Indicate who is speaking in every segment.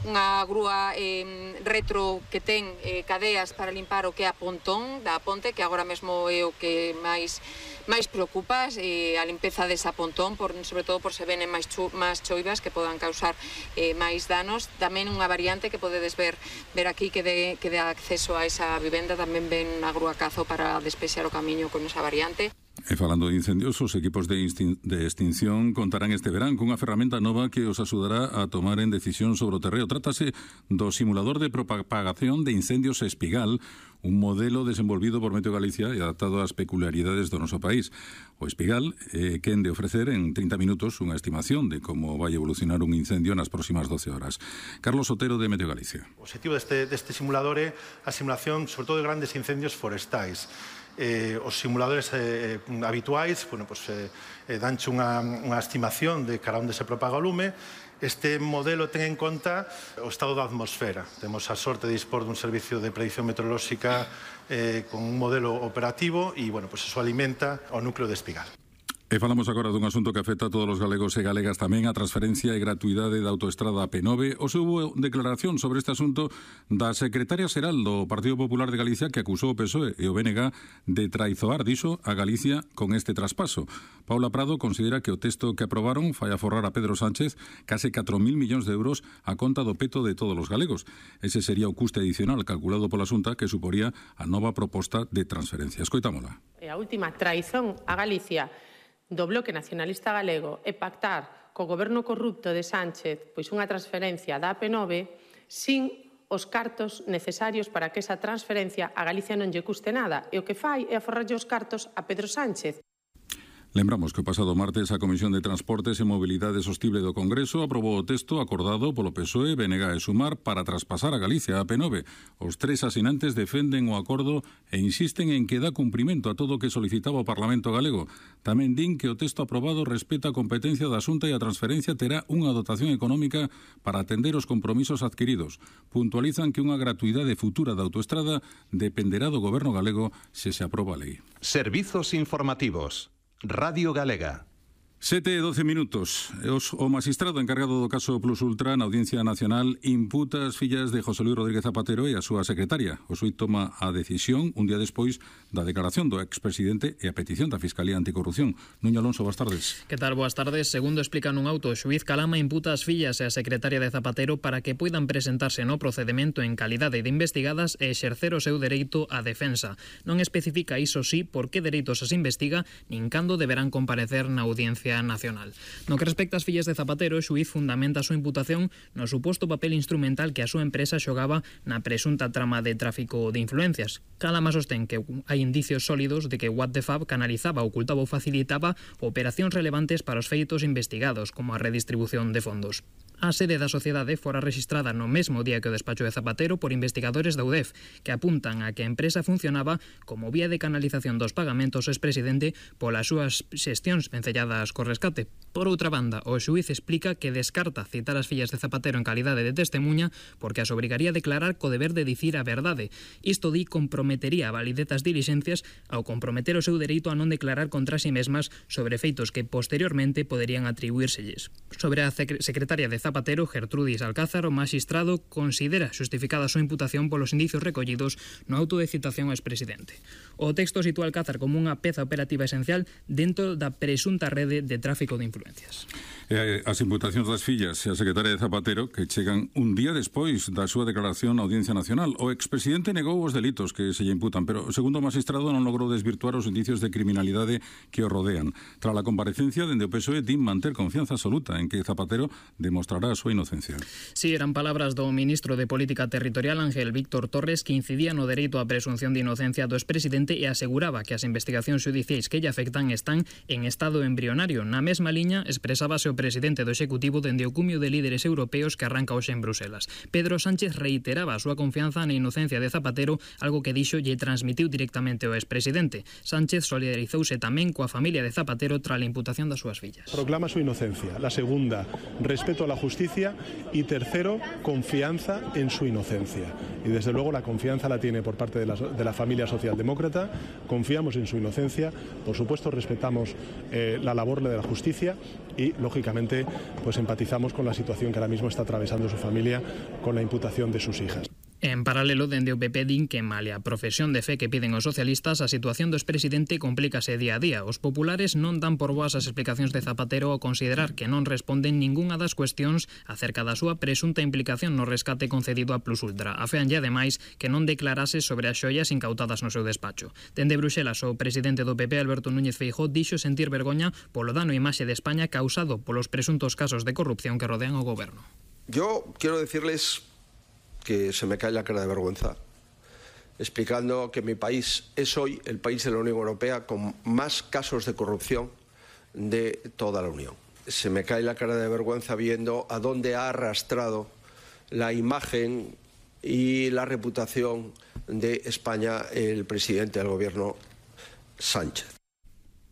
Speaker 1: unha grúa retro que ten cadeas para limpar o que é a pontón da ponte, que agora mesmo é o que máis preocupa, a limpeza desa pontón, sobre todo por se venen máis choivas que podan causar máis danos. Tamén unha variante que podedes ver aquí que dá acceso a esa vivenda, tamén ven unha grúa cazo para despexar o camiño con esa variante.
Speaker 2: E falando de incendios, os equipos de extinción contarán este verán cunha ferramenta nova que os axudará a tomar en decisión sobre o terreo. Trátase do simulador de propagación de incendios Espigal, un modelo desenvolvido por Meteo Galicia e adaptado ás peculiaridades do noso país. O Espigal quen de ofrecer en 30 minutos unha estimación de como vai evolucionar un incendio nas próximas 12 horas. Carlos Otero, de Meteo Galicia.
Speaker 3: O objetivo deste simulador é a simulación, sobre todo, de grandes incendios forestais. Os simuladores habituais danche unha estimación de cara onde se propaga o lume. Este modelo ten en conta o estado da atmosfera. Temos a sorte de dispor dun servicio de predicción meteorolóxica con un modelo operativo e, eso alimenta o núcleo de Espigal.
Speaker 2: E falamos agora dun asunto que afecta a todos os galegos e galegas tamén, a transferencia e gratuidade da autoestrada P9. Hoxe houve declaración sobre este asunto da secretaria xeral do Partido Popular de Galicia, que acusou o PSOE e o BNG de traizoar, dixo, a Galicia con este traspaso. Paula Prado considera que o texto que aprobaron fai aforrar a Pedro Sánchez case 4.000 millóns de euros a conta do peto de todos os galegos. Ese sería o custe adicional calculado pola Xunta que suporía a nova proposta de transferencia. Escoitámola.
Speaker 4: A última traizón a Galicia do Bloque Nacionalista Galego é pactar co goberno corrupto de Sánchez pois unha transferencia da AP9 sin os cartos necesarios para que esa transferencia a Galicia non lle custe nada, e o que fai é aforrarlle os cartos a Pedro Sánchez.
Speaker 2: Lembramos que o pasado martes a Comisión de Transportes e Mobilidade Sostible do Congreso aprobou o texto acordado polo PSOE, BNG e Sumar para traspasar a Galicia a AP9. Os tres asinantes defenden o acordo e insisten en que dá cumprimento a todo o que solicitaba o Parlamento galego. Tamén din que o texto aprobado respeta a competencia da Xunta e a transferencia terá unha dotación económica para atender os compromisos adquiridos. Puntualizan que unha gratuidade futura da autoestrada dependerá do Goberno galego se se aproba a lei.
Speaker 5: Servizos informativos. Radio Galega.
Speaker 2: 7:12 minutos. O magistrado encargado do caso Plus Ultra na Audiencia Nacional imputa as fillas de José Luis Rodríguez Zapatero e a súa secretaria. O xuíz toma a decisión un día despois da declaración do expresidente e a petición da Fiscalía Anticorrupción. Nuño Alonso, boas tardes.
Speaker 6: Que tal? Boas tardes. Segundo explica nun auto, o xuíz Calama imputa as fillas e a secretaria de Zapatero para que poidan presentarse no procedemento en calidade de investigadas e exercer o seu dereito á defensa. Non especifica, iso sí, por que dereitos as investiga nin cando deberán comparecer na Audiencia Nacional. No que respecta ás fillas de Zapatero, o xuíz fundamenta a súa imputación no suposto papel instrumental que a súa empresa xogaba na presunta trama de tráfico de influencias. Calama sostén que hai indicios sólidos de que What the Fab canalizaba, ocultaba ou facilitaba operacións relevantes para os feitos investigados, como a redistribución de fondos. A sede da sociedade fora rexistrada no mesmo día que o despacho de Zapatero por investigadores da UDEF, que apuntan a que a empresa funcionaba como vía de canalización dos pagamentos ao expresidente polas súas xestións vencelladas co rescate. Por outra banda, o xuíz explica que descarta citar as fillas de Zapatero en calidade de testemunha porque as obrigaría a declarar co deber de dicir a verdade. Isto comprometería a validez das dilixencias ao comprometer o seu dereito a non declarar contra si mesmas sobre feitos que posteriormente poderían atribuírselles. Sobre a secretaria de Zapatero, Gertrudis Alcázar, o magistrado considera xustificada a súa imputación polos indicios recollidos no auto de citación ao expresidente. O texto sitúa Alcázar como unha peza operativa esencial dentro da presunta rede de tráfico de influencias.
Speaker 2: As imputacións das fillas e a secretaria de Zapatero que chegan un día despois da súa declaración na Audiencia Nacional. O expresidente negou os delitos que se lle imputan, pero segundo o magistrado non logrou desvirtuar os indicios de criminalidade que o rodean. Tras a comparecencia, dende o PSOE din manter confianza absoluta en que Zapatero demostrará a súa inocencia.
Speaker 6: Si, eran palabras do ministro de Política Territorial Ángel Víctor Torres, que incidía no dereito á presunción de inocencia do expresidente e aseguraba que as investigacións xudiciais que lle afectan están en estado embrionario. Na mesma liña expresábase o presidente do Executivo dende o cumio de líderes europeos que arranca hoxe en Bruselas. Pedro Sánchez reiteraba a súa confianza na inocencia de Zapatero, algo que dixo lle transmitiu directamente ao expresidente. Sánchez solidarizouse tamén coa familia de Zapatero tras a imputación das súas fillas.
Speaker 7: Proclama su inocencia. La segunda, respeto a la justicia. Y tercero, confianza en su inocencia. Y desde luego la confianza la tiene por parte de la familia socialdemócrata. Confiamos en su inocencia. Por supuesto respetamos la labor responsable de la justicia y, lógicamente, pues empatizamos con la situación que ahora mismo está atravesando su familia con la imputación de sus hijas.
Speaker 6: En paralelo, dende o PP din que malia a profesión de fe que piden os socialistas, a situación do expresidente complícase día a día. Os populares non dan por boas as explicacións de Zapatero ao considerar que non responden ningunha das cuestións acerca da súa presunta implicación no rescate concedido a Plus Ultra. Afeanlle ademais que non declarase sobre as xoias incautadas no seu despacho. Dende Bruxelas, o presidente do PP, Alberto Núñez Feijóo, dixo sentir vergoña polo dano á imaxe de España causado polos presuntos casos de corrupción que rodean o goberno.
Speaker 8: Yo quiero decirles que se me cae la cara de vergüenza, explicando que mi país es hoy el país de la Unión Europea con más casos de corrupción de toda la Unión. Se me cae la cara de vergüenza viendo a dónde ha arrastrado la imagen y la reputación de España el presidente del gobierno Sánchez.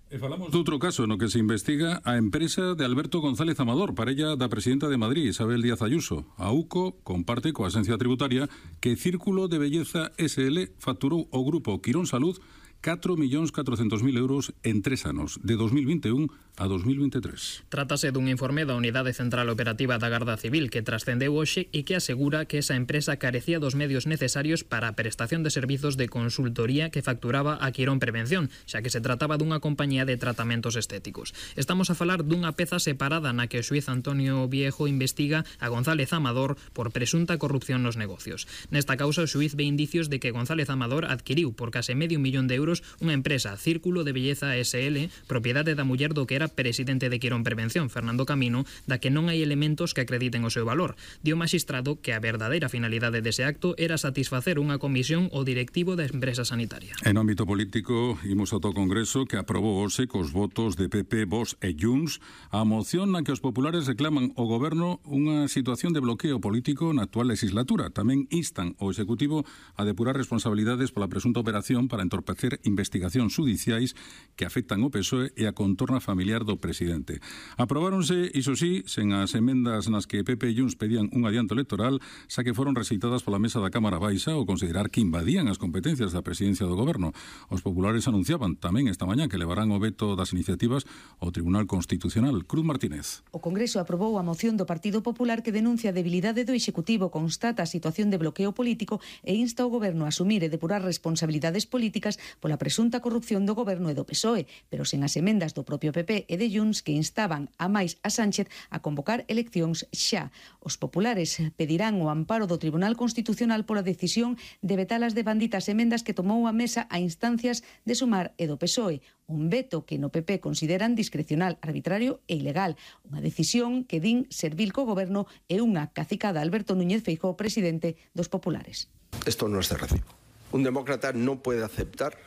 Speaker 2: E falamos doutro caso no que se investiga a empresa de Alberto González Amador, parella da presidenta de Madrid, Isabel Díaz Ayuso. A UCO comparte coa Axencia Tributaria que Círculo de Belleza SL facturou ao grupo Quirón Salud 4.400.000 euros en 3 anos, de 2021 a 2023.
Speaker 6: Trátase dun informe da Unidade Central Operativa da Garda Civil que trascendeu hoxe e que asegura que esa empresa carecía dos medios necesarios para a prestación de servizos de consultoría que facturaba a Quirón Prevención, xa que se trataba dunha compañía de tratamentos estéticos. Estamos a falar dunha peza separada na que o xuíz Antonio Viejo investiga a González Amador por presunta corrupción nos negocios. Nesta causa, o xuíz ve indicios de que González Amador adquiriu por case $500.000 unha empresa, Círculo de Belleza SL, propiedade da muller do que era presidente de Quirón Prevención, Fernando Camino, da que non hai elementos que acrediten o seu valor. Dio o magistrado que a verdadeira finalidade dese acto era satisfacer unha comisión ao directivo da empresa sanitaria.
Speaker 2: En ámbito político, imos ao Congreso que aprobou hoxe cos votos de PP, Vox e Junts a moción na que os populares reclaman ao goberno unha situación de bloqueo político na actual legislatura. Tamén instan ao Executivo a depurar responsabilidades pola presunta operación para entorpecer investigacións judiciais que afectan o PSOE e a contorna familiar do presidente. Aprobáronse, iso sí, sen as emendas nas que PP e Junts pedían un adianto electoral, xa que foron rexeitadas pola mesa da Cámara Baixa ao considerar que invadían as competencias da presidencia do goberno. Os populares anunciaban tamén esta mañá que levarán o veto das iniciativas ao Tribunal Constitucional. Cruz Martínez.
Speaker 9: O Congreso aprobou a moción do Partido Popular que denuncia a debilidade do Executivo, constata a situación de bloqueo político e insta o goberno a asumir e depurar responsabilidades políticas pola presunta corrupción do goberno e do PSOE, pero sen as emendas do propio PP e de Junts que instaban a máis a Sánchez a convocar eleccións xa. Os populares pedirán o amparo do Tribunal Constitucional pola decisión de vetar as devanditas emendas que tomou a mesa a instancias de Sumar e do PSOE, un veto que no PP consideran discrecional, arbitrario e ilegal, unha decisión que din servil co goberno e unha cacicada Alberto Núñez Feijóo, presidente dos populares.
Speaker 8: Esto no es de recibo. Un demócrata no puede aceptar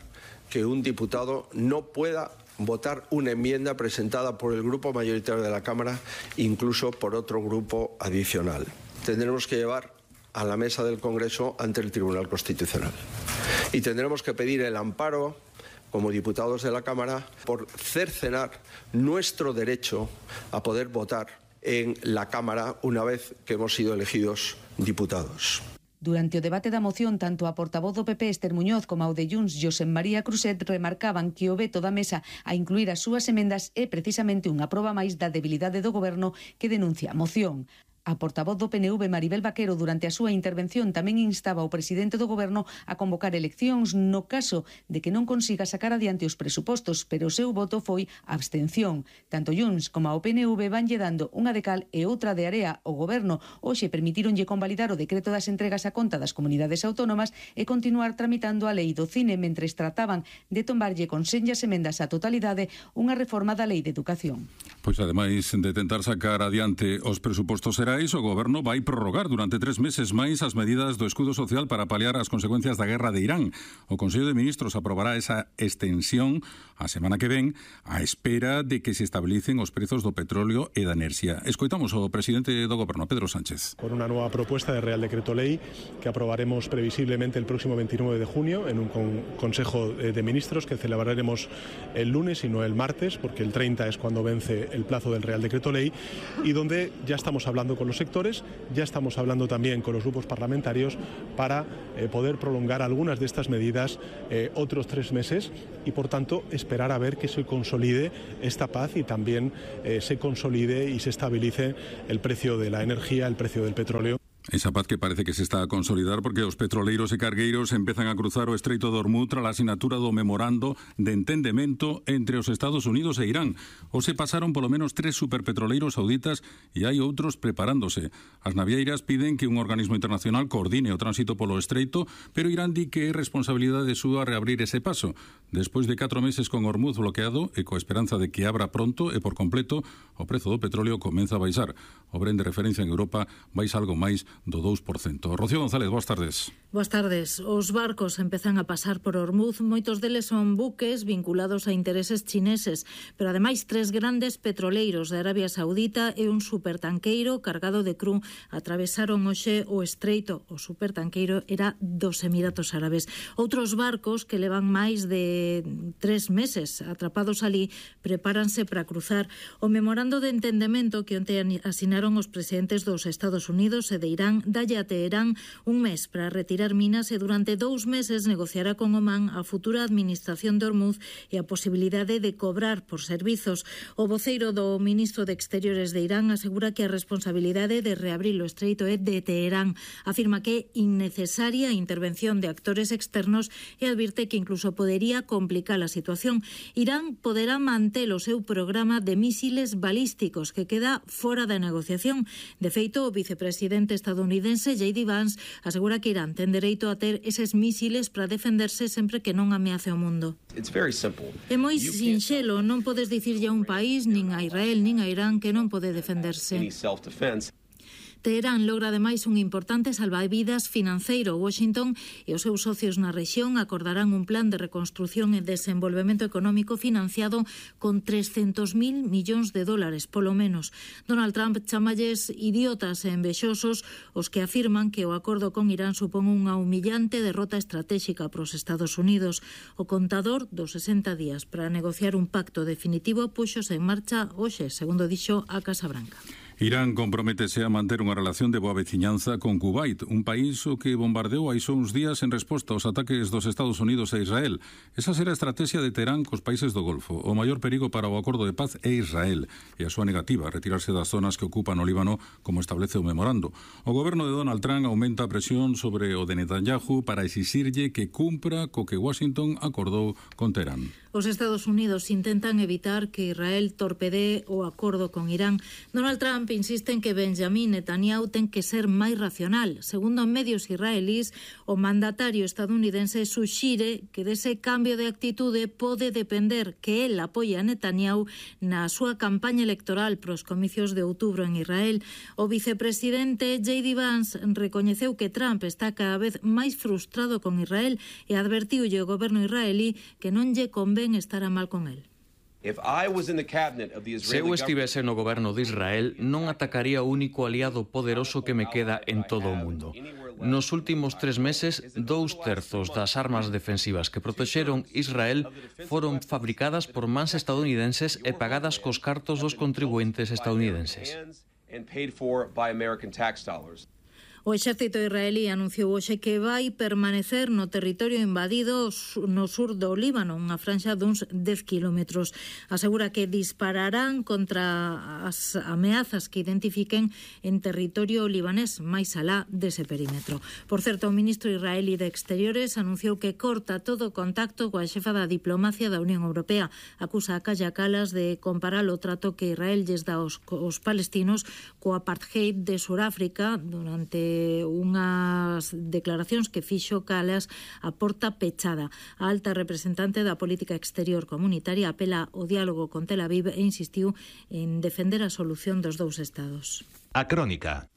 Speaker 8: que un diputado no pueda votar una enmienda presentada por el grupo mayoritario de la Cámara, incluso por otro grupo adicional. Tendremos que llevar a la mesa del Congreso ante el Tribunal Constitucional. Y tendremos que pedir el amparo, como diputados de la Cámara, por cercenar nuestro derecho a poder votar en la Cámara una vez que hemos sido elegidos diputados.
Speaker 9: Durante o debate da moción, tanto a portavoz do PP Esther Muñoz como ao de Junts Josep María Cruzet remarcaban que o veto da mesa a incluir as súas emendas é precisamente unha proba máis da debilidade do goberno que denuncia a moción. A portavoz do PNV, Maribel Vaquero, durante a súa intervención tamén instaba ao presidente do goberno a convocar eleccións no caso de que non consiga sacar adiante os presupostos, pero o seu voto foi abstención. Tanto Junts como ao PNV vanlle dando unha de cal e outra de area ao goberno. Hoxe permitíronlle convalidar o decreto das entregas a conta das comunidades autónomas e continuar tramitando a lei do cine mentres trataban de tombarlle con senllas emendas á totalidade unha reforma da lei de educación.
Speaker 2: Pois ademais de tentar sacar adiante os presupostos xerais, o goberno vai prorrogar durante 3 meses máis as medidas do escudo social para paliar as consecuencias da guerra de Irán. O Consello de Ministros aprobará esa extensión a semana que ven á espera de que se estabilicen os prezos do petróleo e da enerxía. Escoitamos ao presidente do goberno, Pedro Sánchez.
Speaker 7: Con una nueva propuesta de Real Decreto Ley que aprobaremos previsiblemente el próximo 29 de junio en un Consejo de Ministros que celebraremos el lunes y no el martes, porque el 30 es cuando vence el plazo del Real Decreto Ley, y donde ya estamos hablando con los sectores, ya estamos hablando también con los grupos parlamentarios para poder prolongar algunas de estas medidas otros 3 meses y, por tanto, esperar a ver que se consolide esta paz y también se consolide y se estabilice el precio de la energía, el precio del petróleo.
Speaker 2: Esa paz que parece que se está a consolidar porque os petroleiros e cargueiros empezan a cruzar o Estreito de Hormuz tras a asinatura do memorando de entendemento entre os Estados Unidos e Irán. Hoxe pasaron polo menos 3 superpetroleiros sauditas e hai outros preparándose. As navieiras piden que un organismo internacional coordine o tránsito polo Estreito, pero Irán di que é responsabilidade súa reabrir ese paso. Despois de 4 meses con Hormuz bloqueado e coa esperanza de que abra pronto e por completo, o prezo do petróleo comeza a baixar. O Brent de referencia en Europa baixa algo máis do 2%. Rocío González, boas tardes.
Speaker 10: Boas tardes. Os barcos empezan a pasar por Hormuz. Moitos deles son buques vinculados a intereses chineses, pero ademais 3 grandes petroleiros de Arabia Saudita e un supertanqueiro cargado de cru atravesaron hoxe o estreito. O supertanqueiro era dos Emiratos Árabes. Outros barcos que levan máis de 3 meses atrapados ali prepáranse para cruzar. O memorando de entendemento que onte asinaron os presidentes dos Estados Unidos e de Irán dalle a Teherán un mes para retirar minas e durante 2 meses negociará con Omán a futura administración de Hormuz e a posibilidade de cobrar por servizos. O voceiro do ministro de Exteriores de Irán asegura que a responsabilidade de reabrir o estreito é de Teherán. Afirma que é innecesaria a intervención de actores externos e advirte que incluso podería complicar a situación. Irán poderá manter o seu programa de mísiles balísticos que queda fora da negociación. De feito, o vicepresidente estadounidense J.D. Vance asegura que Irán ten dereito a ter eses mísiles para defenderse sempre que non ameace o mundo. É moi sinxelo, non podes dicirlle a un país, nin a Israel, nin a Irán, que non pode defenderse. Teherán logra ademais un importante salvavidas financeiro. Washington e os seus socios na rexión acordarán un plan de reconstrución e desenvolvemento económico financiado con 300.000 millóns de dólares, polo menos. Donald Trump chamalles idiotas e envexosos os que afirman que o acordo con Irán supón unha humillante derrota estratégica para os Estados Unidos. O contador dos 60 días para negociar un pacto definitivo puxose en marcha hoxe, segundo dixo a Casa Branca.
Speaker 2: Irán comprométese a manter unha relación de boa veciñanza con Kuwait, un país o que bombardeou hai só uns días en resposta aos ataques dos Estados Unidos a Israel. Esa será a estrategia de Teherán cos países do Golfo. O maior perigo para o acordo de paz é Israel e a súa negativa a retirarse das zonas que ocupan o Líbano, como establece o memorando. O goberno de Donald Trump aumenta a presión sobre o de Netanyahu para exixirlle que cumpra co que Washington acordou con Teherán.
Speaker 10: Os Estados Unidos intentan evitar que Israel torpedee o acordo con Irán. Donald Trump insiste en que Benjamin Netanyahu ten que ser máis racional. Segundo medios israelís, o mandatario estadounidense suxire que dese cambio de actitude pode depender que el apoia a Netanyahu na súa campaña electoral pros comicios de outubro en Israel. O vicepresidente J.D. Vance recoñeceu que Trump está cada vez máis frustrado con Israel e advertiulle ao goberno israelí que non lle convén estar a mal con el.
Speaker 11: Se eu estivese no goberno de Israel, non atacaría o único aliado poderoso que me queda en todo o mundo. Nos últimos 3 meses, 2/3 das armas defensivas que protexeron Israel foron fabricadas por mans estadounidenses e pagadas cos cartos dos contribuentes estadounidenses.
Speaker 10: O exército israelí anunciou hoxe que vai permanecer no territorio invadido no sur do Líbano, unha franxa duns 10 kilómetros. Asegura que dispararán contra as ameazas que identifiquen en territorio libanés máis alá dese perímetro. Por certo, o ministro israelí de Exteriores anunciou que corta todo contacto coa xefa da diplomacia da Unión Europea. Acusa a Kaja Kallas de comparar o trato que Israel lles dá aos palestinos co apartheid de Suráfrica durante unhas declaracións que fixo Kallas a porta pechada. A alta representante da política exterior comunitaria apela ao diálogo con Tel Aviv e insistiu en defender a solución dos 2 estados.
Speaker 5: A Crónica.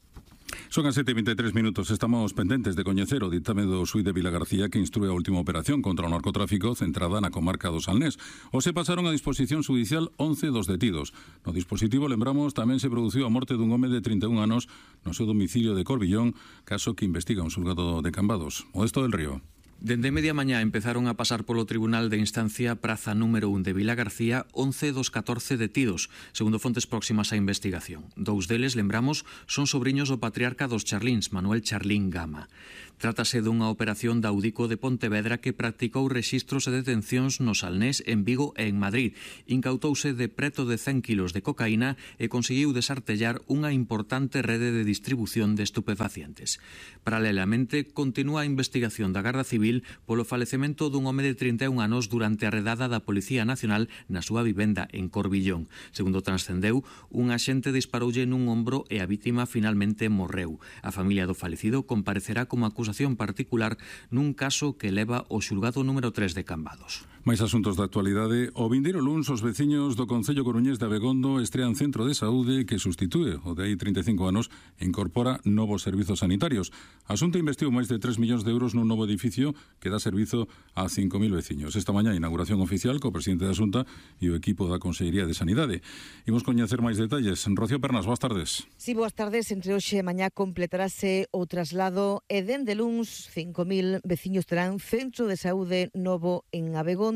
Speaker 2: Son as 7:23 minutos. Estamos pendentes de coñecer o ditame do xuíz de Vilagarcía que instrue a última operación contra o narcotráfico centrada na comarca do Salnés. Hoxe pasaron a disposición judicial 11 dos detidos. No dispositivo, lembramos, tamén se produciu a morte dun home de 31 anos no seu domicilio de Corbillón, caso que investiga un xulgado de Cambados. Modesto del Río.
Speaker 11: Dende media mañá empezaron a pasar polo Tribunal de Instancia Praza número 1 de Vila García 11 dos 14 detidos, segundo fontes próximas á investigación. Dous deles, lembramos, son sobriños do patriarca dos Charlíns, Manuel Charlín Gama. Trátase dunha operación da Audico de Pontevedra que practicou rexistros e detencións no Salnés, en Vigo e en Madrid. Incautouse de preto de 100 kilos de cocaína e conseguiu desartellar unha importante rede de distribución de estupefacientes. Paralelamente, continúa a investigación da Garda Civil polo falecemento dun home de 31 anos durante a redada da Policía Nacional na súa vivenda en Corbillón. Segundo transcendeu, un axente disparoulle nun ombro e a vítima finalmente morreu. A familia do falecido comparecerá como acusación particular nun caso que leva o xulgado número 3 de Cambados.
Speaker 2: Mais asuntos da actualidade. O vindeiro luns, os veciños do Concello Coruñés de Abegondo estrean centro de saúde que sustitúe o de hai 35 anos e incorpora novos servizos sanitarios. A Xunta investiu máis de 3 millóns de euros nun novo edificio que dá servizo a 5.000 veciños. Esta mañá, inauguración oficial co presidente da Xunta e o equipo da Consellería de Sanidade. Imos coñecer máis detalles. Rocío Pernas, boas tardes.
Speaker 12: Si, boas tardes. Entre hoxe e mañá completarase o traslado e dende luns 5.000 veciños terán centro de saúde novo en Abegondo,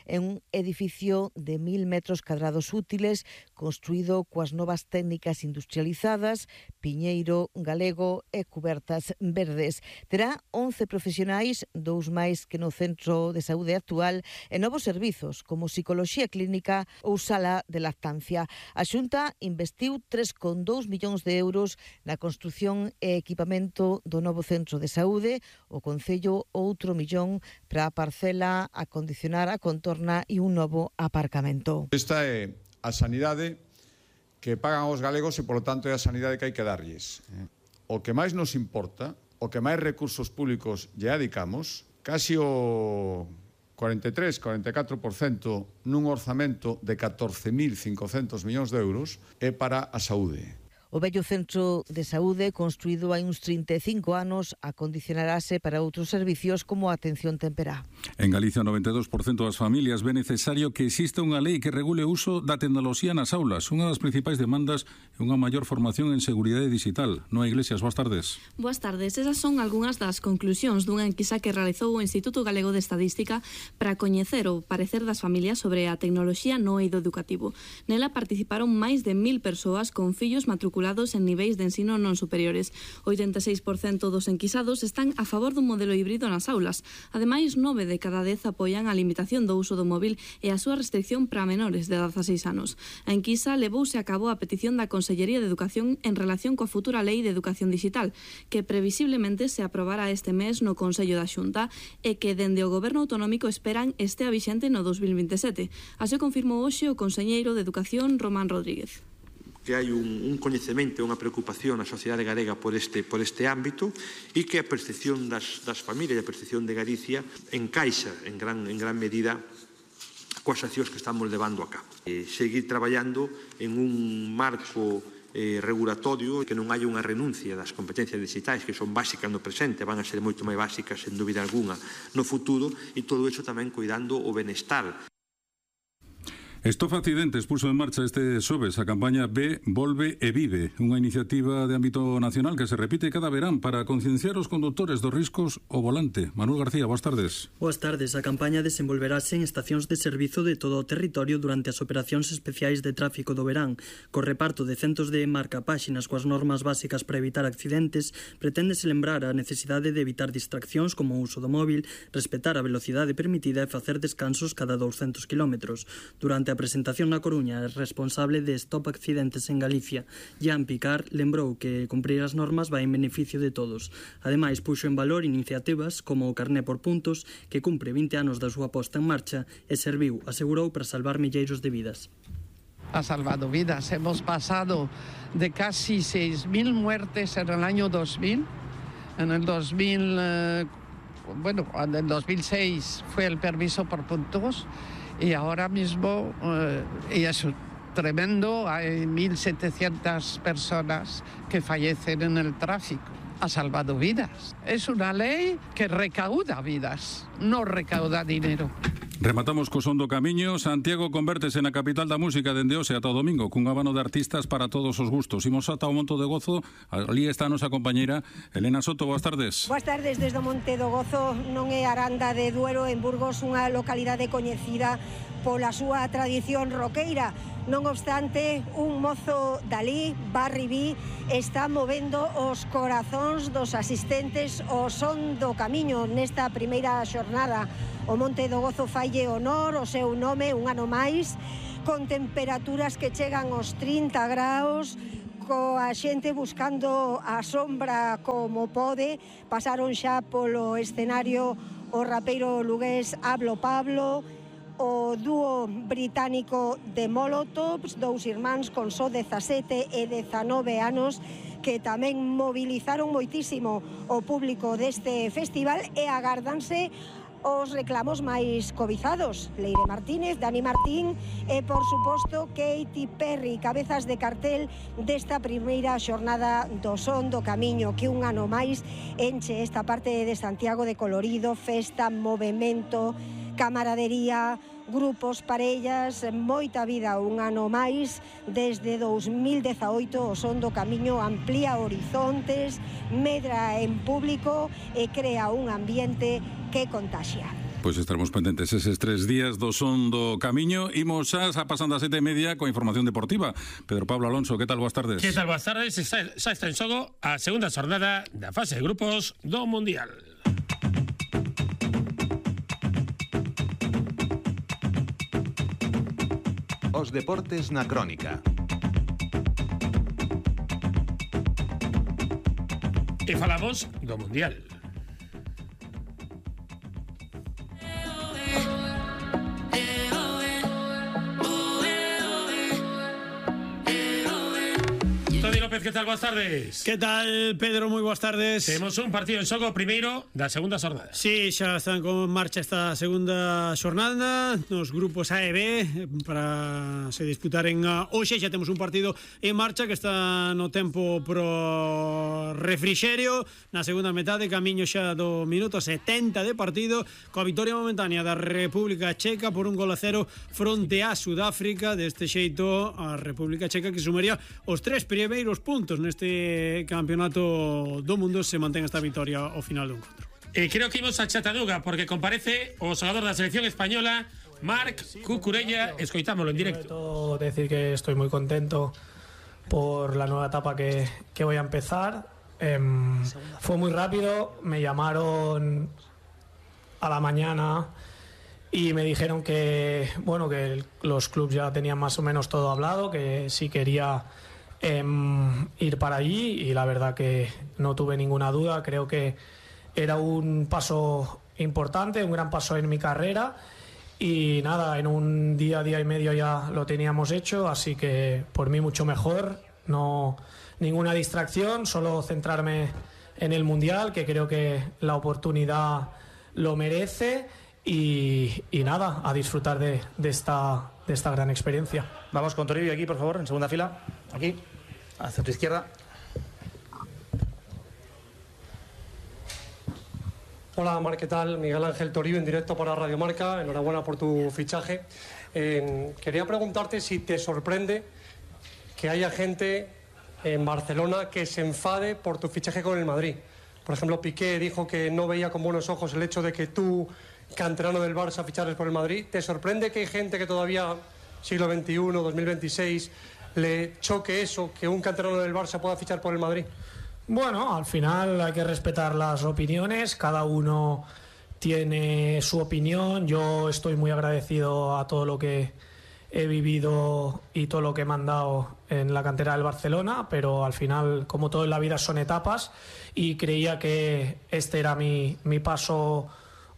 Speaker 12: en un edificio de 1.000 metros cadrados útiles, construído coas novas técnicas industrializadas, piñeiro galego e cubertas verdes. Terá 11 profesionais, 2 máis que no centro de saúde actual, e novos servizos como psicoloxía clínica ou sala de lactancia. A Xunta investiu 3,2 millóns de euros na construción e equipamento do novo centro de saúde, o Concello outro millón para a parcela, acondicionar a contorna e un novo aparcamento.
Speaker 13: Esta é a sanidade que pagan os galegos e, polo tanto, é a sanidade que hai que darlles. O que máis nos importa, o que máis recursos públicos lle adicamos, casi o 43-44% nun orzamento de 14.500 millóns de euros é para a saúde.
Speaker 12: O vello centro de saúde, construído hai uns 35 anos, acondicionarase para outros servicios como a atención temperá.
Speaker 2: En Galicia, 92% das familias ve necesario que exista unha lei que regule o uso da tecnoloxía nas aulas. Unha das principais demandas é unha maior formación en seguridade digital. Noa Iglesias, boas tardes.
Speaker 14: Boas tardes. Esas son algunhas das conclusións dunha enquisa que realizou o Instituto Galego de Estadística para coñecer o parecer das familias sobre a tecnoloxía no eido educativo. Nela participaron máis de 1.000 persoas con fillos matriculados en niveis de ensino non superiores. 86% dos enquisados están a favor dun modelo híbrido nas aulas. Ademais, 9 de cada 10 apoian a limitación do uso do móvil e a súa restricción para menores de 16 anos. A enquisa levouse a cabo a petición da Consellería de Educación en relación coa futura Lei de Educación Digital, que previsiblemente se aprobará este mes no Consello da Xunta e que dende o Goberno Autonómico esperan estea vixente no 2027. Así confirmou hoxe o conselleiro de Educación, Román Rodríguez.
Speaker 15: Que hai un coñecemento, unha preocupación na sociedade galega por este ámbito e que a percepción das familias e a percepción de Galicia encaixa en gran medida coas accións que estamos levando a cabo. Seguir traballando en un marco regulatorio que non hai unha renuncia das competencias digitais que son básicas no presente, van a ser moito máis básicas, sen dúbida alguna, no futuro, e todo iso tamén cuidando o benestar.
Speaker 2: Stop Accidentes puso en marcha este xoves a campaña Ve, Volve e Vive, unha iniciativa de ámbito nacional que se repite cada verán para concienciar os condutores dos riscos ao volante. Manuel García, boas tardes.
Speaker 16: Boas tardes. A campaña desenvolverase en estacións de servizo de todo o territorio durante as operacións especiais de tráfico do verán. Co reparto de centos de marcapáxinas coas normas básicas para evitar accidentes, preténdese lembrar a necesidade de evitar distraccións como o uso do móvil, respetar a velocidade permitida e facer descansos cada 200 km. Durante a presentación na Coruña, é responsable de Stop Accidentes en Galicia, Jan Picar, lembrou que cumprir as normas vai en beneficio de todos. Ademais, puxo en valor iniciativas como o carné por puntos, que cumpre 20 anos da súa posta en marcha e serviu, asegurou, para salvar milleiros de vidas.
Speaker 17: Ha salvado vidas. Hemos pasado de casi 6.000 muertes en el año 2000. En el 2006 fue el permiso por puntos. Y ahora mismo, y es tremendo, hay 1.700 personas que fallecen en el tráfico. Ha salvado vidas. Es una ley que recauda vidas, no recauda dinero.
Speaker 2: Rematamos co son do camiño. Santiago convértese na capital da música dende hoxe ata o domingo, cun abano de artistas para todos os gustos. Imos ata o Monte do Gozo. Ali está a nosa compañeira Elena Soto. Boas tardes.
Speaker 18: Boas tardes. Desde o Monte do Gozo non é Aranda de Duero, en Burgos, unha localidade coñecida pola súa tradición roqueira. Non obstante, un mozo dali, Barry B, está movendo os corazóns dos asistentes ao son do camiño nesta primeira xornada. O Monte do Gozo falle honor ao seu nome un ano máis, con temperaturas que chegan aos 30 graus, coa xente buscando a sombra como pode. Pasaron xa polo escenario o rapeiro lugués Hablo Pablo, o dúo británico de Molotovs, dous irmáns con só 17 e 19 anos, que tamén movilizaron moitísimo o público deste festival, e agardanse os reclamos máis cobizados. Leire Martínez, Dani Martín e, por suposto, Katy Perry, cabezas de cartel desta primeira xornada do Son do Camiño, que un ano máis enche esta parte de Santiago de colorido, festa, movemento, camaradería, grupos, parellas, moita vida. Un ano máis, desde 2018, o Son do Camiño amplía horizontes, medra en público e crea un ambiente que contaxia.
Speaker 2: Pois estaremos pendentes eses 3 días do Son do Camiño. Imos xa pasando a 7:30 coa información deportiva. Pedro Pablo Alonso, que tal? Boas tardes.
Speaker 19: Que tal? Boas tardes. Xa está en xogo a segunda xornada da fase de grupos do Mundial.
Speaker 5: Os deportes na crónica.
Speaker 19: E falamos do Mundial. Toni López, que tal? Boas tardes.
Speaker 20: Que tal, Pedro? Moi boas tardes.
Speaker 19: Temos un partido en xogo primeiro da segunda xornada.
Speaker 20: Sí, xa están con marcha esta segunda xornada nos grupos A e B para se disputaren hoxe. Xa temos un partido en marcha que está no tempo pro refrixerio na segunda metade, camiño xa do minuto 70 de partido, coa vitoria momentánea da República Checa por 1-0 fronte a Sudáfrica. Deste xeito, a República Checa, que sumaría os 3 primeiros puntos neste campeonato do mundo, se mantén esta vitoria ao final do encontro.
Speaker 19: Creo que imos a Chattanooga porque comparece o xogador da selección española, Marc Cucurella. Escoitámoslo en directo.
Speaker 21: Decir que estoy muy contento por la nueva etapa que voy a empezar. Fue muy rápido, me llamaron a la mañana y me dijeron que los clubes ya tenían más o menos todo hablado, que si quería ir para allí, y la verdad que no tuve ninguna duda. Creo que era un paso importante, un gran paso en mi carrera, y nada, en un día y medio ya lo teníamos hecho, así que por mí mucho mejor. No, ninguna distracción, solo centrarme en el Mundial, que creo que la oportunidad lo merece, y nada, a disfrutar de esta gran experiencia.
Speaker 22: Vamos con Toribio aquí, por favor, en segunda fila. Aquí, hacia tu izquierda.
Speaker 23: Hola, Mar, ¿qué tal? Miguel Ángel Toribio, en directo para Radio Marca. Enhorabuena por tu fichaje. Quería preguntarte si te sorprende que haya gente en Barcelona que se enfade por tu fichaje con el Madrid. Por ejemplo, Piqué dijo que no veía con buenos ojos el hecho de que tú, canterano del Barça, fichares por el Madrid. ¿Te sorprende que hay gente que todavía, siglo XXI, 2026, le choque eso, que un canterano del Barça pueda fichar por el Madrid?
Speaker 21: Bueno, al final hay que respetar las opiniones, cada uno tiene su opinión. Yo estoy muy agradecido a todo lo que he vivido y todo lo que me han dado en la cantera del Barcelona, pero al final, como todo en la vida, son etapas, y creía que este era mi paso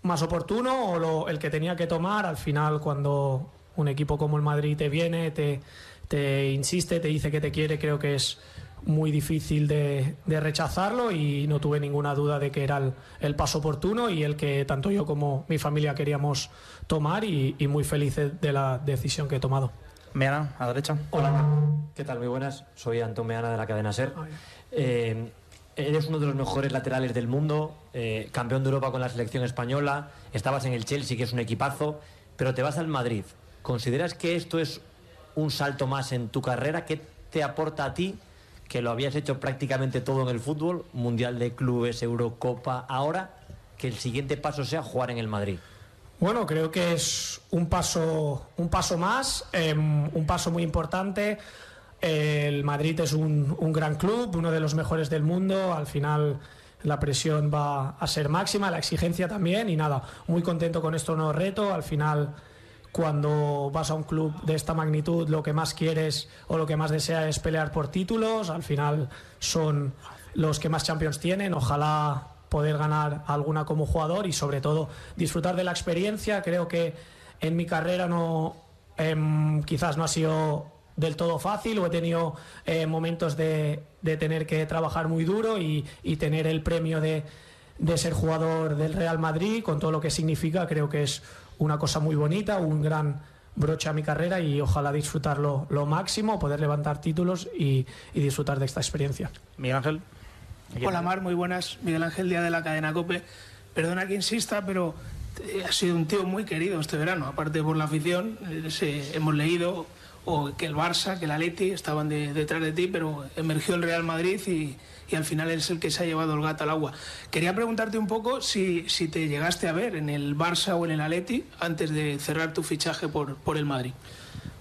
Speaker 21: más oportuno, o el que tenía que tomar. Al final, cuando un equipo como el Madrid te viene, te insiste, te dice que te quiere, creo que es muy difícil de rechazarlo, y no tuve ninguna duda de que era el paso oportuno y el que tanto yo como mi familia queríamos tomar, y muy felices de la decisión que he tomado.
Speaker 22: Meana, a la derecha.
Speaker 24: Hola, ¿qué tal? Muy buenas. Soy Antón Meana, de la cadena SER. Eres uno de los mejores laterales del mundo, campeón de Europa con la selección española, estabas en el Chelsea, que es un equipazo. pero te vas al Madrid. ¿Consideras que esto es un salto más en tu carrera? ¿Qué te aporta a ti, que lo habías hecho prácticamente todo en el fútbol, Mundial de Clubes, Eurocopa, ahora que el siguiente paso sea jugar en el Madrid?
Speaker 21: Bueno, creo que es un paso más, un paso muy importante. El Madrid es un gran club, uno de los mejores del mundo. Al final la presión va a ser máxima, la exigencia también, y nada, muy contento con este nuevo reto. Al final, cuando vas a un club de esta magnitud, lo que más quieres o lo que más deseas es pelear por títulos. Al final son los que más Champions tienen. Ojalá poder ganar alguna como jugador y sobre todo disfrutar de la experiencia. Creo que en mi carrera quizás no ha sido del todo fácil, o he tenido momentos de tener que trabajar muy duro y tener el premio de ser jugador del Real Madrid, con todo lo que significa. Creo que es una cosa muy bonita, un gran broche a mi carrera, y ojalá disfrutarlo lo máximo, poder levantar títulos y disfrutar de esta experiencia.
Speaker 22: Miguel Ángel.
Speaker 1: Hola Mar, muy buenas. Miguel Ángel, día de la cadena COPE. Perdona que insista, pero ha sido un tío muy querido este verano, aparte por la afición. Hemos leído que el Barça, que el Atleti estaban detrás de ti, pero emergió el Real Madrid y al final es el que se ha llevado el gato al agua. Quería preguntarte un poco si te llegaste a ver en el Barça o en el Atleti antes de cerrar tu fichaje por el Madrid.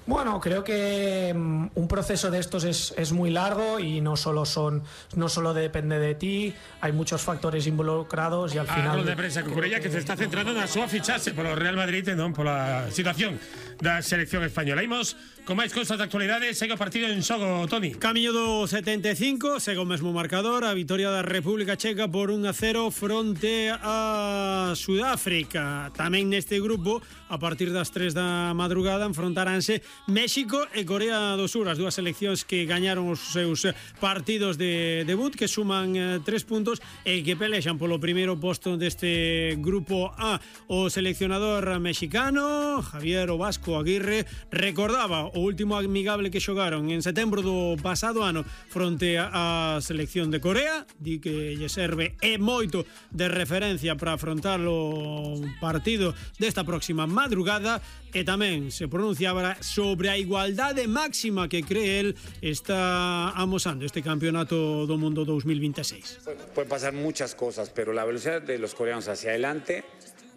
Speaker 21: Bueno, creo que un proceso de estos es muy largo y no solo depende de ti, hay muchos factores involucrados y al final...
Speaker 19: A de prensa Cucurella, que se está centrando na súa fichaxe polo Real Madrid e non pola situación da selección española. Imos con máis cousas de actualidade. Segue o partido en xogo, Toni.
Speaker 20: Camiño do 75, segue o mesmo marcador, a vitoria da República Checa por 1-0 fronte a Sudáfrica. Tamén neste grupo, a partir das 3 da madrugada, enfrontaránse México e Corea do Sur, as dúas seleccións que gañaron os seus partidos de debut, que suman 3 puntos e que pelexan polo primeiro posto deste grupo A. O seleccionador mexicano, Javier O Vasco Aguirre, recordaba o último amigable que xogaron en setembro do pasado ano fronte á selección de Corea, di que lle serve e moito de referencia para afrontar o partido desta próxima madrugada, e tamén se pronunciaba sobre a igualdade máxima que cree él está amosando este campeonato do mundo 2026.
Speaker 3: Pueden pasar muchas cosas, pero la velocidad de los coreanos hacia adelante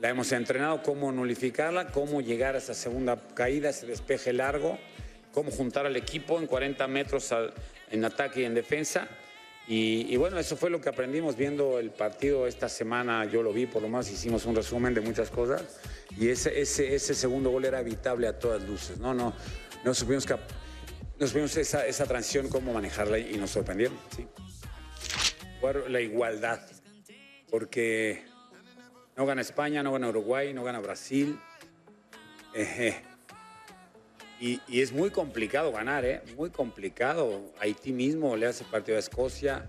Speaker 3: la hemos entrenado, cómo nullificarla, cómo llegar a esa segunda caída, ese despeje largo, cómo juntar al equipo en 40 metros en ataque y en defensa. Y bueno, eso fue lo que aprendimos viendo el partido esta semana. Yo lo vi, por lo menos hicimos un resumen de muchas cosas, y ese segundo gol era evitable a todas luces. No supimos esa transición, cómo manejarla, y nos sorprendieron. Sí. La igualdad, porque no gana España, no gana Uruguay, no gana Brasil. Y es muy complicado ganar, muy complicado. Haití mismo le hace partido a Escocia.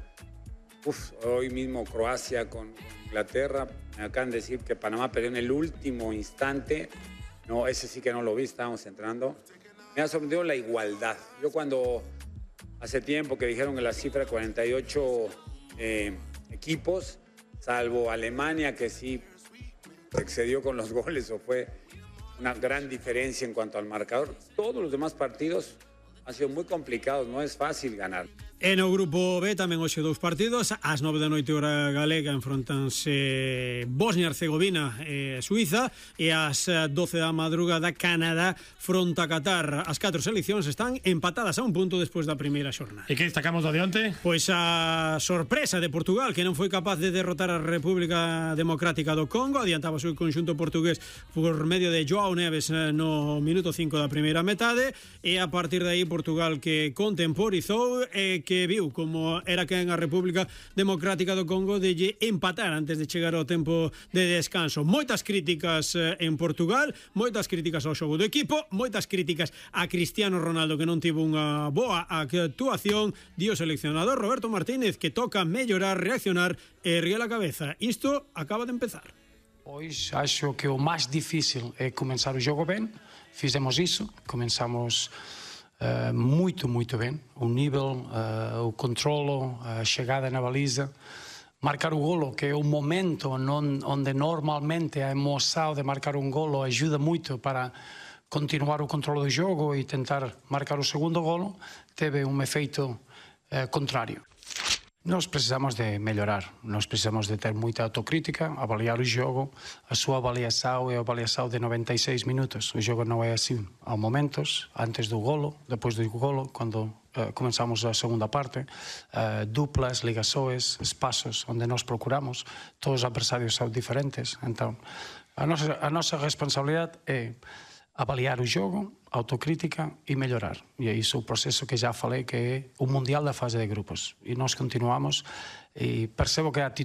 Speaker 3: Hoy mismo Croacia con Inglaterra. Me acaban de decir que Panamá perdió en el último instante. No, ese sí que no lo vi, estábamos entrando. Me ha sorprendido la igualdad. Yo cuando hace tiempo que dijeron que la cifra de 48 equipos, salvo Alemania, que sí excedió con los goles o fue una gran diferencia en cuanto al marcador, todos los demás partidos han sido muy complicados, no es fácil ganar.
Speaker 20: E no grupo B tamén hoxe dous partidos. Ás 9 da noite hora galega enfrontanse Bosnia-Herzegovina e Suiza, e ás 12 da madrugada Canadá fronta a Qatar. As 4 seleccións están empatadas a un punto despois da primeira xornada.
Speaker 19: E que destacamos do de onte?
Speaker 20: Pois a sorpresa de Portugal, que non foi capaz de derrotar a República Democrática do Congo. Adiantaba o seu conxunto portugués por medio de Joao Neves no minuto 5 da primeira metade, e a partir de aí Portugal que contemporizou e que viu como era quen a República Democrática do Congo de lle empatar antes de chegar ao tempo de descanso. Moitas críticas en Portugal, moitas críticas ao xogo do equipo, moitas críticas a Cristiano Ronaldo, que non tivo unha boa actuación. Di o seleccionador Roberto Martínez que toca mellorar, reaccionar e erguer a cabeza. Isto acaba de empezar.
Speaker 4: Pois acho que o máis difícil é comenzar o xogo ben. Fizemos iso, comenzamos muito ben, o nível, o controlo, a chegada na baliza, marcar o golo, que é o momento onde normalmente a emoção de marcar um golo ajuda muito para continuar o controle do jogo e tentar marcar o segundo golo, teve um efeito contrário. Nós precisamos de melhorar, nós precisamos de ter muita autocrítica, avaliar o jogo. A sua avaliação é a avaliação de 96 minutos. O jogo não é assim. Há momentos, antes do golo, depois do golo, quando começamos a segunda parte, duplas, ligações, espaços onde nós procuramos. Todos os adversários são diferentes. Então, a nossa responsabilidade é avaliar o jogo, autocrítica e melhorar. E é isso o processo que já falei, que é o Mundial da fase de grupos. E nós continuamos, e percebo que a atitude